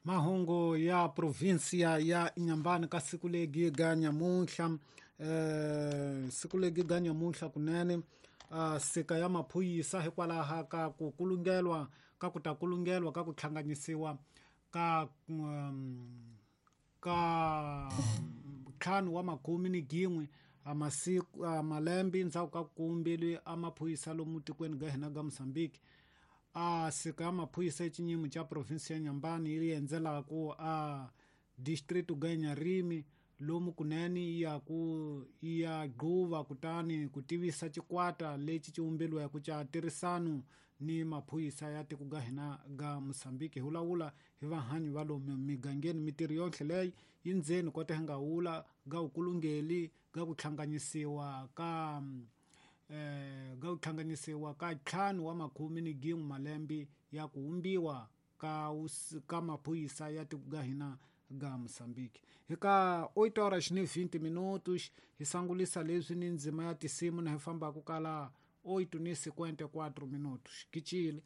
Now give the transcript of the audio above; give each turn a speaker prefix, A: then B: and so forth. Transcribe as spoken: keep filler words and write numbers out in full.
A: Mahungu ya provinsia ya Inhambane ka siku legi ga nyamuntlha eh siku legi ga nyamuntlha kunene uh, sika ya maphorisa hikwalaho ka ku kulungelwa ka ku ta kulungelwa ka ku hlanganisiwa ka um, ka ntlhanu wa makume ni gin'we a masiku a malembe ndzhaku ka ku vumbeliwe a maphorisa lomu tikweni ga hina ga Mozambique. A sika ya maphorisa exinyimo xa provinsi ya Inhambane yi endzelaku a distrito ga Inharime lomu kunene yi ya ku yi ya gquva kutani ku tivisa xikwata lexi xi vumbeliweke xa tirhisano ni maphorisa ya tiko ga hina ga Mozambique. Hi vulavula hi vahanyi va lomu migangeni mintirho yohle leyi yi ndzeni kota hi nga wula ga vukulungeli ga ku hlanganisiwa ka eh ga ku hlanganisiwa ka ntlhanu wa makume ni gin'we malembe ya ku vumbiwa ka ka maphorisa ya tiko ga hina ga Mozambique. Hi ka oito horas ni vinte minutos hi sangulisa leswi ni ndzima ya tinsimu na hi fambaka kala oito ni cinquenta e quatro minutos. Kichile.